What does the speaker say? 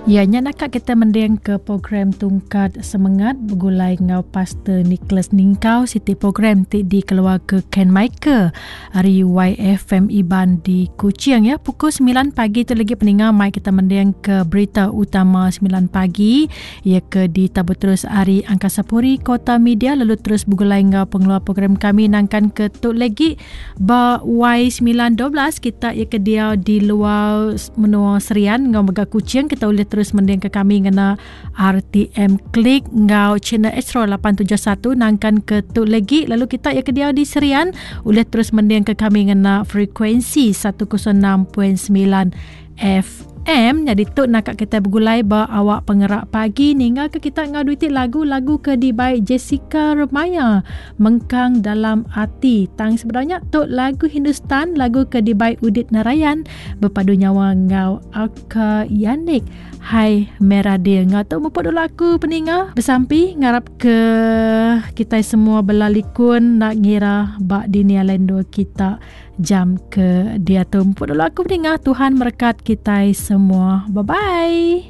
Ya nya naka kita mending ke program Tungkat Semengat begulai enggau Pastor Nicholas Ningkau siti program ti dikeluarka Ken Michael ari YFM Iban di Kuching ya. Pukul 9 pagi tu lagi peninga mai kita mending ke berita utama 9 pagi ya ke ditabur terus ari Angkasa Puri Kota Media lalu terus begulai enggau pengeluar program kami nangkan ke tu lagi Ba Y912 kita iya ke diau di luar menua Serian enggau mega Kuching kita ulih terus mendingka kami ngena RTM Click enggau channel Astro 871 nangkan ke tu legi lalu kita iya ke diau di Serian ulih terus mendingka kami ngena frekuensi 106.9 FM. Nyadi tu naka kita begulai ba awak pengerak pagi ninggal ke kita enggau duiti lagu-lagu ke dibai Jessica Remaya mengkang dalam ati. Tang sebenarnya tu lagu Hindustan lagu ke dibai Udit Narayan bepadu nyawa enggau Alka Yanik. Hai Merah Dia. Enggau tu mupuk dulu aku peninga besampi ngarap ke kita semua bela likun nak ngira ba dini alai endur kita. Jam ke diatu. Empuk dulu aku meningah Tuhan merekat kitai semua. Bye bye.